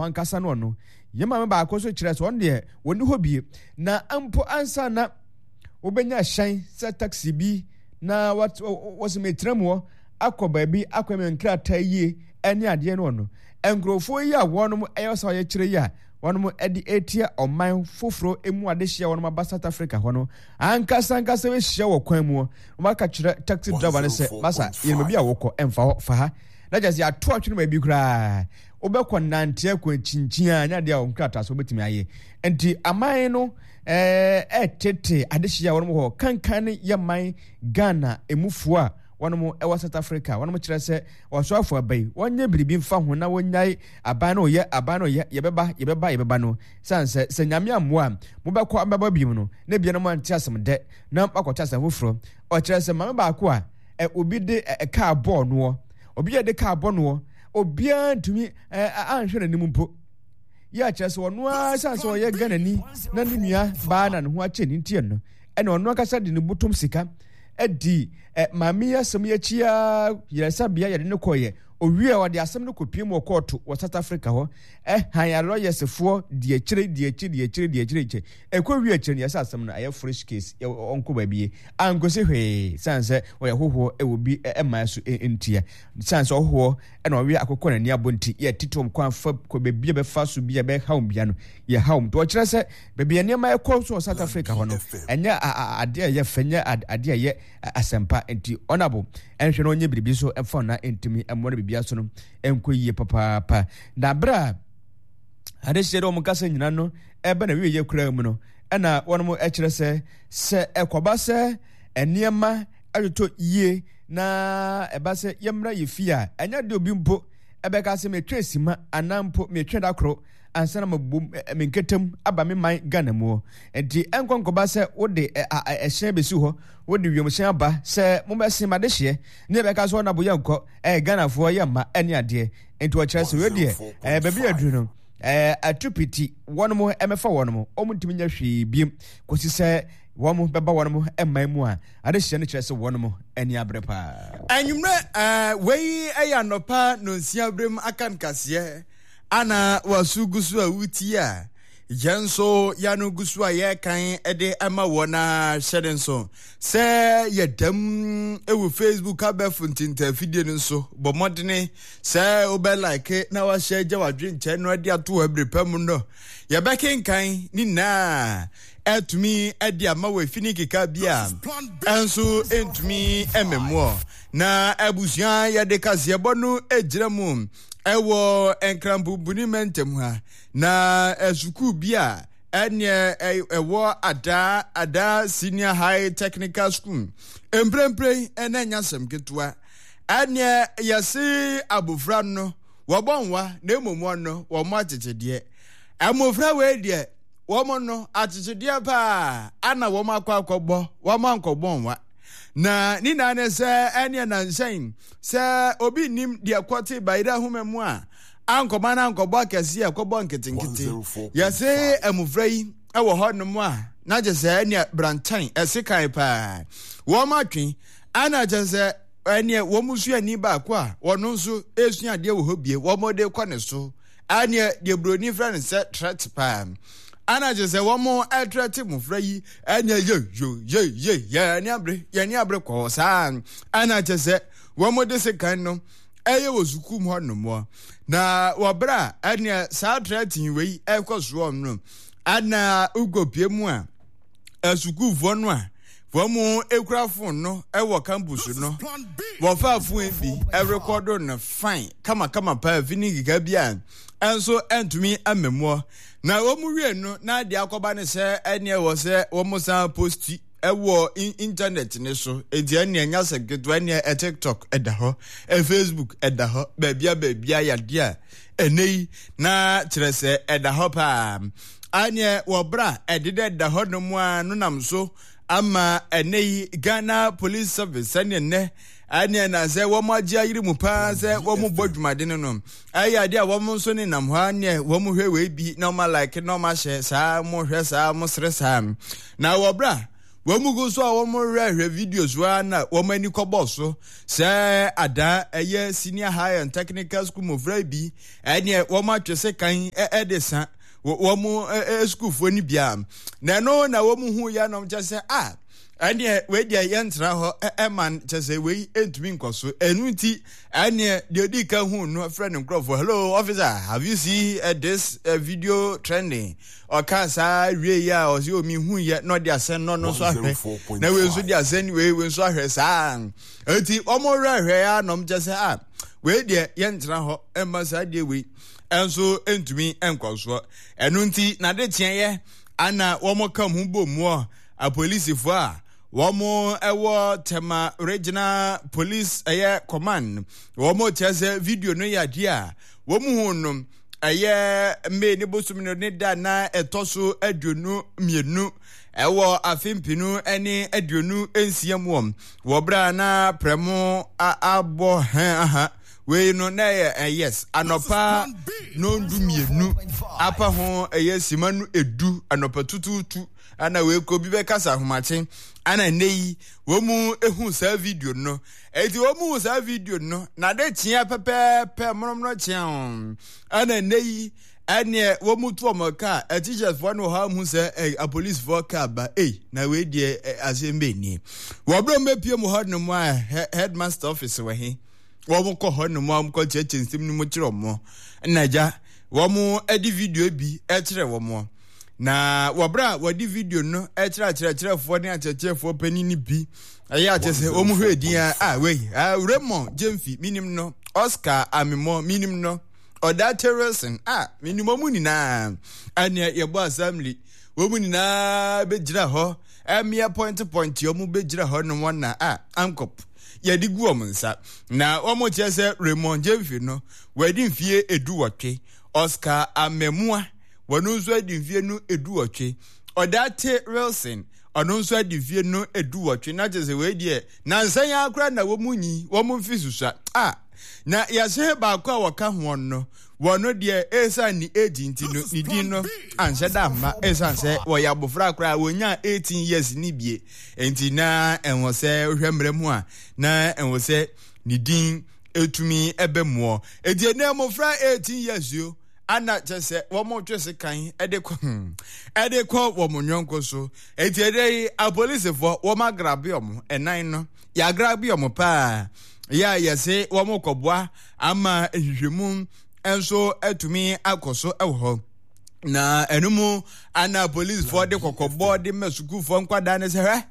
hɔ ankasa no ɔno. Yɛn maame baako nso kyerɛ sɛ ɔno deɛ wɔnni hɔ bie. Na mpo ansa na wobɛnya hyɛn sɛ taxi bi na wɔsɛ metra mu hɔ akɔ baabi akɔ me nkrataa yie ne adeɛ no ɔno. Nkurɔfoɔ yi a wɔnom ɛyɛ sɛ ɔyɛ kyerɛ yi a wɔnom de etia ɔman foforɔ mu adehyeɛ a wɔnom aba South Africa hɔ no ankasa ankasa bɛhyia wɔ kwan mu wɔn aka kyerɛ taxi driver no sɛ masa yɛn baabi a wokɔ ɛmfa hɔ fa ha na kyerɛ sɛ yɛato atwene baabi koraa wobɛkɔ nante akɔ akyinkyin a nyɛ adeɛ a wɔn krataa so wobɛtumi ayɛ nti aman no ɛtete adehyeɛ a wɔnom hɔ kankan ne yɛ man Ghana emufoɔ a wɔnom ɛwɔ South Africa wɔnom kyerɛ sɛ wɔsoafo aba yi wɔnyɛ biribi mfa ho na wɔnyae aban no yɛ aban no yɛ yɛbɛba yɛbɛba yɛbɛba no san sɛ sɛ nyame ammoa a mobɛkɔ abɛba bio no na bia no mo ante asɛm dɛ na makɔte asɛm foforɔ ɔkyerɛ sɛ maame baako a ɛ obi de ɛ kaa bɔɔ noɔ obi a de kaa bɔ noɔ obiara ntumi ɛ anhwɛ n'anim mpo yɛ akyerɛ sɛ ɔno ara san sɛ ɔyɛ Ghanani na ne nua baa na ne ho akyɛ ne ntiɛ no ɛna ɔno ankasa de ne botom sika adi ɛ maame yi asɛm yi akyi ara yaresabea yɛde no kɔeɛ owie a ɔde asɛm no kɔpie mu wɔ kɔɔto wɔ South Africa hɔ ɛhan alɔyɛsefoɔ di akyire di akyire di akyire di akyire kyɛ ɛkɔ wie akyire no yɛsɛ asɛm no ayɛ fresh case ɔnkɔ baabi ankosi hwee san sɛ ɔyɛ hohoɔ ɛwɔ bi ɛmaa so ntia san sɛ ɔhohoɔ ɛna ɔwe akokɔ n'ani abɔ nti yɛ tete wɔn kwan fa kɔ baabi a bɛfa so bi a bɛhaw wɔn bia no yɛ haw wɔn nti ɔkyerɛ sɛ baabi a nneɛma ɛkɔ so wɔ South Africa hɔ no ɛnyɛ adeɛ a ɛyɛ fɛ nyɛ adeɛ a ɛyɛ asɛmpa nti ɔnabo ɛnhwɛ na ɔnyɛ biribi so ɛmfa ɔna ntumi ɛmmoa no biribi aso no ɛnkɔ yie papaapa na berɛ a adehyeɛ dɛ wɔn kasa nyina no ɛbɛ na wieɛ koraa mu no ɛna wɔn ɛkyerɛ sɛ sɛ ɛkɔba sɛ nneɛma ɛtotɔ yie na ɛba sɛ yɛmmra yɛ fie a ɛnyɛ de obi mpo ɛbɛka sɛ metwe sima anaa mpo metwe da koro ansa na mabom me nketem aba me man Ghana mu. Nti ɛnkɔ nkɔba sɛ wode ɛhyɛn bɛsi hɔ, wode wiemhyɛn aba sɛ mobɛsen m'adehyeɛ ne yɛbɛka sɛ ɔnabo yɛnkɔ, ɛyɛ Ghanafoɔ yɛ mma ɛne adeɛ. Nti ɔkyerɛ sɛ wei deɛ ɛɛ baabi aduru no ɛɛ atupiti wɔnom ɛmɛfa wɔnom, wɔn ntumi nyɛ hwee biem kɔsi sɛ wɔn bɛba wɔnom mman mu a adehyeɛ no kyerɛ sɛ wɔnom ani abere paa. Anwummerɛ ɛɛ wei ɛyɛ anɔpa nonsia berem aka nkaseɛ. Ana w'aso gu so a wotie a? Yɛn nso yɛano gu so a yɛrekan de ama wɔn a hyɛ ne nso sɛ yɛdam wɔ Facebook abɛɛfo ntentafidie no nso bɔ mmɔdene sɛ wobɛ like na wahyɛ agya w'adwenkyɛ no de ato hɔ abere pa mu no yɛbɛkenkan ne nyinaa atumi de ama wɔ efi ne keka bi a ɛnso ntumi mmɛmoɔ na abusua yɛde kaseɛbɔ no gyina mu ɛwɔ Nkranpumpuni mantam ha na sukuu bi a ɛneɛ ɛwɔ Adaa Adaa Senior High Technical School mprempren ɛna ɛnyɛ asɛm ketewa ɛneɛ yɛse abofra no wɔbɔ nwa na mmom wɔn no wɔn akyekyedeɛ mmofra wei deɛ wɔn no akyekyedeɛ paa ana wɔn akɔ akɔbɔ wɔn ankɔbɔ nwa na ne nyinaa ne sɛ ɛneɛ nansɛn Sɛ obi nnim deɛ kɔte bayerɛ ahoma mu a, ankɔma no ankɔbɔ akɛseɛ a ɛkɔbɔ nketenkete. Yɛse mmofra yi wɔ hɔnom a, na kyɛ sɛ ɛneɛ brantan ɛsekan paa. Wɔn atwe, ana kyɛ sɛ ɛneɛ wɔn suani baako a wɔn nso ɛresua adeɛ wɔ hɔ bie, wɔn de kɔ ne so. Ɛneɛ deɛ buroni frɛ no sɛ threat paa. Ana kyerɛ sɛ wɔn ɛtrɛte mmofra yi ɛneɛ ye yo ye ye yɛne abere yɛne abere kɔɔ saa. Ana kyerɛ sɛ wɔn de sekan no ɛyɛ wɔ sukuu mu hɔ nomoɔ. Na wɔ berɛ a ɛneɛ saa threaten wei ɛkɔ soɔ no, ana wokɔpie mu a asukuufoɔ no a wɔn ekura fon no wɔ campus no wɔfa fon bi ɛrekɔdo no fine kamakama paa fi ne nkeka bi a ɛnso ɛntumi amamuɔ na wɔn wie no na adeɛ akɔba ne sɛ ɛneɛ wɔ sɛ wɔn san posti ɛwɔ internet ne so eti ɛneɛ nya sɛ ketewa ɛneɛ ɛ tiktok ɛda hɔ ɛ facebook ɛda hɔ baabia baabia yadeɛ a ɛnɛ yi na kyerɛ sɛ ɛda hɔ paa Aneɛ wɔ berɛ a ɛdeda da hɔ nom a no nam so ama ɛnɛ yi Ghana Police Service sɛdeɛ nnɛ ɛneɛ na sɛ wɔn agye ayere mu paa sɛ wɔn bɔ dwumaden no ɛyɛ adeɛ a wɔn nso ne nam hɔ aneɛ wɔn hwɛ wei bi na wɔn alike na wɔn ahyɛ saa wɔn hwɛ saa wɔn sere saa na wɔ berɛ a. Wɔn gu so a wɔrehwɛhwɛ videos a na wɔn ani kɔbɔ so sɛ adaa ɛyɛ senior high and technical school mmɔfra bi ɛneɛ wɔn atwe sekan ɛde sa wɔn sukuufoɔ no bia na ɛno na wɔn hu yɛ nom kyɛ sɛ a ɛneɛ wei deɛ yɛntena hɔ ɛma kyɛ sɛ wei ntumi nkɔ so ɛno nti ɛneɛ deɛ ɔdi ka hu no frɛ ne nkurɔfoɔ, "Hello officer, have you seen this video trending?" Ɔka saa wie yi a ɔsɛ omi hu yɛ na ɔde asɛn no no nso ahwɛ na wei nso de asɛn wei wei nso ahwɛ saa. Eti wɔn hwɛhwɛ ya na wɔn kyɛ sɛ a wei deɛ yɛntena hɔ ɛmma saa deɛ wei ɛnso ntumi nkɔ soɔ. Ɛno nti n'ade kyeɛ ana wɔn ka ho bɔ mu apolisifoɔ a wɔn ɛwɔ Tema Regional Police ɛyɛ command, wɔn kyerɛ sɛ video no yɛ adeɛ a wɔn hu no ɛyɛ May ne bosom no ne da na ɛtɔ so 22 ɛwɔ afe 2026 mu wɔ berɛ a na prɛmo abɔ hɛn aha wei no na ɛyɛ yes anɔpa 12:30 apa ho ɛyɛ sima no 10 anɔpa tutuutu ana wei kɔ bi bɛkasa ahomakye ana nnɛ yi wɔn mu ehu saa video no. Eti wɔn mu saa video no na de kyea pɛpɛɛpɛ mmorɔmorɔ kyea wɔn ɛna nnɛ yi ɛneɛ wɔn mu to wɔn kaa ɛteachersfoɔ no wɔ hɔ ahu sɛ ɛ apolisifoɔ kaa ba ei na wei deɛ ɛ asɛm bɛ nie. Wɔn bere wɔn bɛpie mu hɔ nom a headmaster office wɔ he wɔn kɔ hɔ nom a wɔn kɔ kyerɛkyerɛ nsɛm no mu kyerɛ wɔn ɛna gya wɔn de video bi kyerɛ wɔn. Na wɔ berɛ a wɔde video no kyerɛ akyerɛkyerɛfoɔ ne akyerɛkyerɛfoɔ panin no bi ɛyɛ akyɛ sɛ wɔn hwɛ din a ah wei ah Raymond Gyemfi minim no, Oscar Amemɔ minim no, Ɔdate Wilson ah minim wɔn nyinaa. Ɛneɛ yɛbɔ assembly wɔn nyinaa bɛgyina hɔ ɛmeɛ pɔnte pɔnte wɔn bɛgyina hɔ nom wɔn na ah ankɔp yɛde gu wɔn nsa na wɔn kyerɛ sɛ Raymond Gyemfi no wɔadi mfie 18, Oscar Amemua wɔn nso adi mfie no 18, Ɔdate Wilson ɔno nso adi mfie no 18. Na kyerɛ sɛ wei deɛ nansa yi ara koraa na wɔn nyi wɔn mfe susua a na yɛhyɛ baako a wɔka ho no wɔn no deɛ ɛsiane ne age nti no ne din no anhyɛ da amma ɛsiane sɛ wɔyɛ abɔfra koraa wɔnya 18 years ne bie nti na ɛwɔ sɛ wohwɛ mmerɛ mu a na ɛwɔ sɛ ne din ɛtumi ɛbɛ muɔ. Ɛti ɛnɛ mmɔfra 18 years yo ana kyɛ sɛ wɔn twe sekan ɛde kɔ ɛde kɔ wɔn nyɔnko so. Eti ɛdɛ yi apolisifoɔ wɔn agrabe wɔn ɛnan no yɛagrabe wɔn paa yɛ a yɛse wɔn kɔboa ama nhwehwɛmu nso atumi akɔ so wɔ hɔ. Na ɛno mu ana apolisifoɔ de kɔkɔbɔ de ma sukuufoɔ nkwadaa no sɛ hwɛ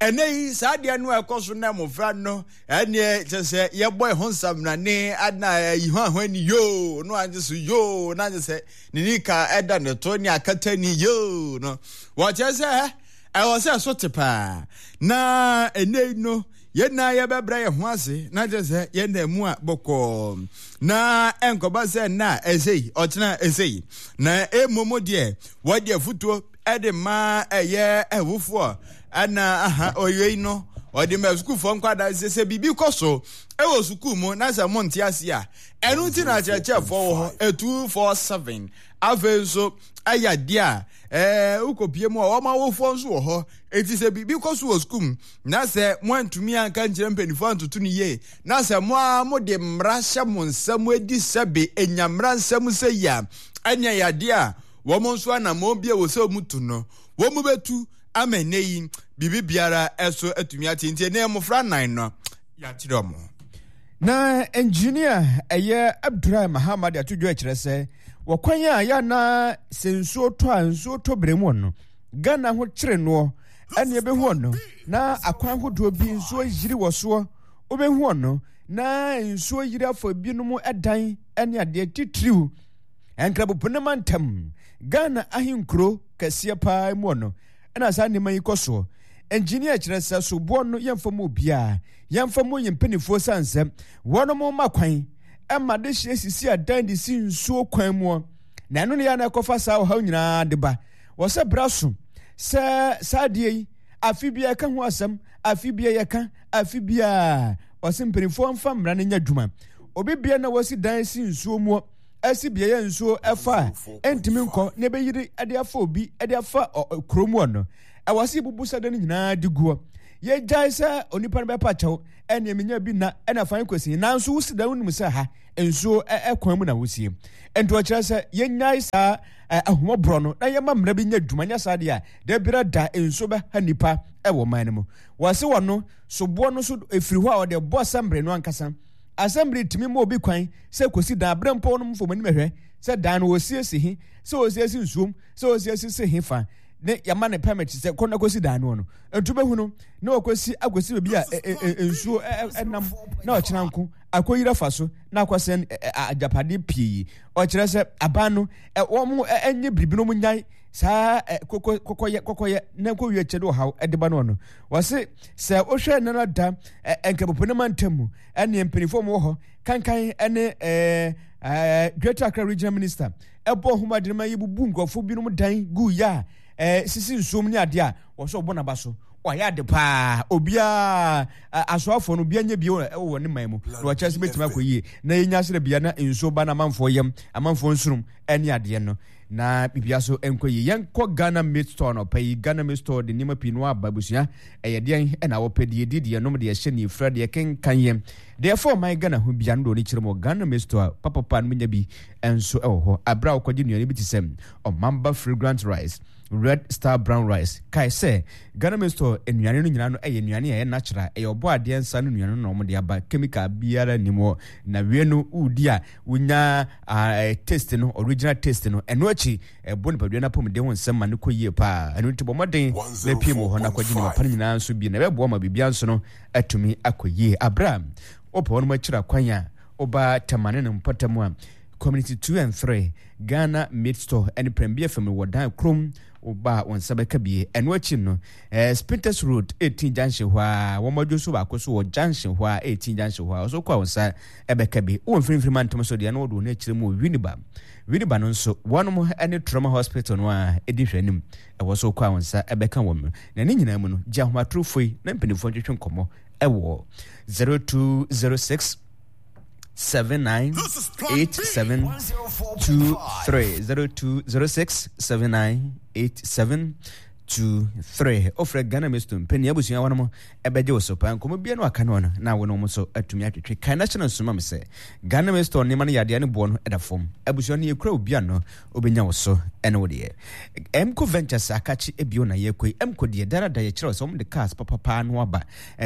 ɛnɛ yi saa adeɛ no a ɛkɔ so na mmɔfra no ɛneɛ kyɛ sɛ yɛbɔ ɛho nsamnane ana ayi ho aho ani yoo no agye so yoo na agye sɛ ne nika ɛda ne to ne akata ni yoo no wɔkyerɛ sɛ ɛwɔ sɛ so te paa na ɛnɛ no yɛn na yɛbɛbrɛ yɛn ho ase na kyerɛ sɛ yɛn na mu a bɔkɔɔ na ɛnkɔba sɛ nna a ɛsei ɔkyena ɛsei na ɛmmom deɛ wɔde afutuo ɛde ma ɛyɛ ɛwofoɔ ɛna aha ɔyɛ no ɔde ma sukuufoɔ nkwadaa sɛ sɛ biribi kɔ so ɛwɔ sukuu mu na sɛ mo nte ase a ɛno nti na akyerɛkyerɛfoɔ wɔ hɔ 247. Afei nso ɛyɛ adeɛ a wokɔpie mu a wɔn awofoɔ nso wɔ hɔ. Eti sɛ biribi kɔ so wɔ sukuu mu na sɛ moantumi anka nkyerɛ mpanimfoɔ antoto no yie na sɛ mo ara mode mmara hyɛ mo nsa mu adi sɛbe enya mmara nsɛm sɛ yi a ɛnea yɛ adeɛ a wɔn nso anammɔn bi a wɔ sɛ wɔn tu no wɔn bɛtu ama ɛnɛ yi biribi biara ɛso atumi ate. Nti ɛnɛ mmɔfra nnan no yɛakyerɛ wɔn. Na engineer ɛyɛ Abdulrahman Mahama de ato dwa kyerɛ sɛ wɔ kwan a yɛ na sɛ nsuo tɔ a nsuo tɔ berɛ mu no Ghana ho kyere noɔ ɛne ɛbɛhu ɔno na akwan ahodoɔ bi nsuo yiri wɔ soɔ wobɛhu ɔno na nsuo yiri afa binom ɛdan ɛne adeɛ titiriw Nkrabopo ne mantam Ghana ahenkuro kɛseɛ paa mu ɔno ɛna saa nneɛma yi kɔ soɔ. Engineer kyerɛ sɛ soboɔ no yɛmfa mu obiara, yɛmfa mu yɛn mpanimfoɔ sane sɛ wɔnom ma kwan ɛma de hyɛ sisi adan de si nsuo kwan muɔ na ɛno ne yɛ na ɛkɔfa saa ɔhaw nyinaa de ba. Wɔ sɛ bra so sɛ saa adeɛ yi afe biara yɛka ho asɛm, afe biara yɛka, afe biara ɔsɛ mpanimfoɔ mfa mmara no nyɛ adwuma. Obi bia na wasi dan si nsuo muɔ. asi beaeɛ a nsuo ɛfa a ɛntumi nkɔ na ɛbɛyiri de afa obi de afa kurom hɔ no, ɛwɔ sɛ yɛbubu saa dan no nyinaa de guɔ. Yɛgyae sɛ onipa no bɛpa kyɛw, ɛneɛ menya bi na ɛna fa kɔsi, nanso wosi dan wonim sɛ ha nsuo ɛkwan mu na wosie. Nti ɔkyerɛ sɛ yɛnyae saa ahummɔborɔ no na yɛma mmara bi nyɛ adwuma, nyɛ saa deɛ a da biara da nsuo bɛha nipa ɛwɔ man no mu. Wɔse wɔno soboɔ no so ɛfiri hɔ a ɔde bɔ asɛmbre no ankasa. Asɛmbre tumi ma obi kwan sɛ kɔsi dan berɛ mpo no mfom anim hwɛ sɛ dan no wɔsiesie he, sɛ wɔsiesie nsuom, sɛ wɔsiesie se he fa ne yɛma ne permit sɛ kɔ na kɔsi dan no no. Nti wobɛhu no na wɔkɔsi akɔsi baabi a nsuo ɛnam na ɔkyena nko akɔyiri afa so na akɔsɛn agyapadeɛ pii. Ɔkyerɛ sɛ aban no wɔn ɛnyɛ biribi no wɔn nyae saa kɔkɔyɛ kɔkɔyɛ na nkɔwie akyɛ de ɔhaw ɛde ba no no. Wɔse sɛ wohwɛ nana da nkramopo ne mantam mu ɛne mpanimfoɔ mu wɔ hɔ kankan ɛne ɛɛ Greater Accra Regional Minister ɛbɔ ho adwene ma yɛbubu nkurɔfoɔ binom dan gu yɛ a ɛɛ sisi nsuom ne adeɛ a wɔsɛ ɔbɔ n'aba so wayɛ ade paa obiara asoafoɔ no obiara nyɛ bi wɔ ne man mu na wɔkyerɛ sɛ bɛtumi akɔ yie na yɛnya serɛ bia na nsuo ba na amanfoɔ yam amanfoɔ nsurum ɛne adeɛ no na biribiara so nkɔ yie. Yɛnkɔ Ghana Meat Store anɔpa yi. Ghana Meat Store de nneɛma pii no aba abusua. Ɛyɛ deɛn ɛna wɔpɛ deɛ ɛdi deɛ nom deɛ ɛhyɛ deɛ ɛfira deɛ ɛkenkan yɛ deɛ ɛfa ɔman Ghana ho bia no deɛ ɔne kyerɛ mu wɔ Ghana Meat Store a papapa no menya bi nso ɛwɔ hɔ. Aberɛ a wokɔgye nnuane bi te sɛ Ɔmamba Fragrant Rice, Red Star Brown Rice. Kae sɛ Ghana Meat Store nnuane no nyinaa no ɛyɛ nnuane a ɛyɛ natural, ɛyɛ ɔbɔ adeɛ nsa no nnuane no na wɔde aba, chemical biara nnim hɔ. Na wie no wodi a wonya uh, taste no, original taste no. Ɛno akyi, ɛbɔ nipadua no apɔmuden ho nsɛm ma no kɔ yie paa. Ɛno nti bɔ mmɔden na pie mu wɔ hɔ na kɔgye nneɛma pa no nyinaa nso bi na ɛbɛboa ma biribiara nso no atumi akɔ yie. Aberɛ a wopɛ wɔnom akyiri akwan a woba Tamane no mpɔtam a, Community 2 and 3, Ghana Meat Store ne Prembia fam no wɔ dan krom woba a wɔn nsa bɛka bie. Ɛno akyi no, eh, Spintex Road 18 junction hɔ a, wɔn adwo so baako so wɔ junction hɔ a, 18 junction hɔ a, ɔso kɔ a wɔn nsa ɛbɛka bi. Wɔ mfinimfini mantam so deɛ na wɔde wɔn akyerɛ mu wɔ Winneba. Winneba no nso, wɔnom ne Trauma Hospital no a ɛdi hwɛ anim. Ɛwɔ so kɔ a wɔn nsa ɛbɛka wɔn. Na ne nyinaa mu no, gye ahomatorofo yi na mpanimfoɔ ntwetwe nkɔmmɔ ɛwɔ 0206 79 87 23 0206 79 87 23 wofrɛ Ghana Misto mpani abusua wɔnom ɛbɛgye wo so paa nkɔmmɔ bia no aka no no na wo ne wɔn nso atumi atwetwe kan na hyɛ no nsoma me sɛ Ghana Misto nneɛma no yadeɛ ne boɔ no ɛda fam abusua no yɛkura obi ano wobɛnya wo so ɛne wo deɛ Mco Ventures akakye ebio na yɛkɔ yi Mco deɛ dara da yɛkyerɛ sɛ wɔn de cars papapaa no aba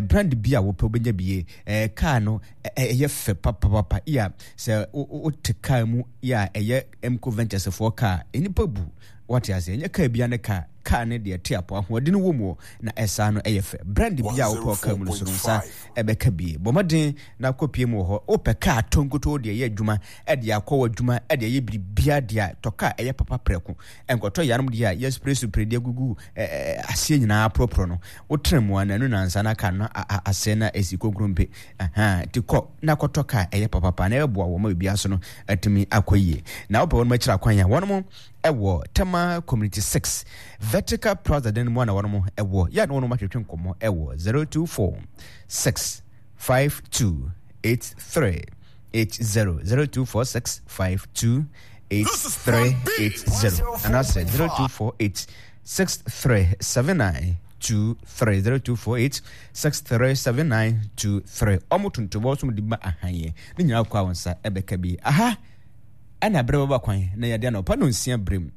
brand bi a wopɛ wobɛnya bie car no ɛyɛ fɛ papapapa yɛ sɛ wote car mu yɛ a ɛyɛ Mco Ventures foɔ car nnipa bu wate ase ɛnyɛ car bia ne car car ne deɛ te apɔ ahoɔden wɔ mu na ɛsaa no ɛyɛ fɛ brand bi a wopɛ ɔkaa mu no so no nsa ɛbɛka bie bɔ mmɔden na kɔpie mu wɔ hɔ wopɛ car tɔ nkotoo deɛ ɛyɛ adwuma ɛde akɔ wɔ adwuma ɛde ɛyɛ biribia deɛ a tɔ car ɛyɛ papa prɛko ɛnkɔtɔ yanom deɛ a yɛspray supre deɛ gugu aseɛ nyinaa porɔporɔ no wotena mu a na ɛno nansa na car no asɛe na ɛsi konkrompe nti kɔ na kɔtɔ car ɛyɛ papapa na ɛbɛboa wɔ ma biribiara so no atumi akɔ yie na wopɛ wɔn akyira kwan a wɔn ɛwɔ Tema Community 6 Vertical Plaza dan mu a na wɔn ɛwɔ yɛ na wɔn atwetwe nkɔmmɔ ɛwɔ 024 6 5 2 8 3 8 0 02 4 6 5 2 8 3 8 0 anaasɛ 02 4 8 6 3 7 9 2 3 02 4 8 6 3 7 9 2 3 ɔmo tontobɔ so de ma ahanyɛ ne nyinaa kɔ a wɔn nsa ɛbɛka bi aha. Ɛna berɛ bɛba kwan na yɛde anɔpa nonsia berem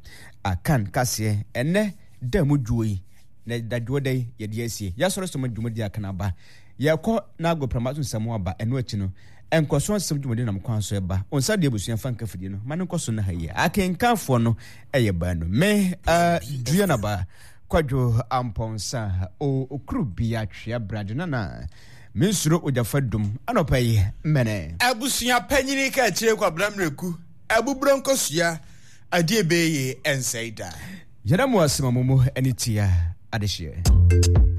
akan kaseɛ ɛnɛ da mu dwoɔ yi na da dwoɔ da yi yɛde asie yɛasɔre som dwumadi akan aba yɛkɔ na agoprama so nsɛm aba ɛno akyi no nkɔso asɛm dwumadi nam kwan so ɛba onsa deɛ abusua fa nka fidie no ma no nkɔso no ha yi akenkanfoɔ no ɛyɛ baanu me uh, dua naba Kwadwo Ampɔnsa o okuru bia twea brade nana mensuro ogyafa dum anɔpa yi mɛnɛ. Abusua panyini ka akyire Kwabena Miraku abuburo nkosua adeɛ bɛyɛ ɛnsɛe da. Yɛda mo ase ma mo mu ani tua adehyeɛ.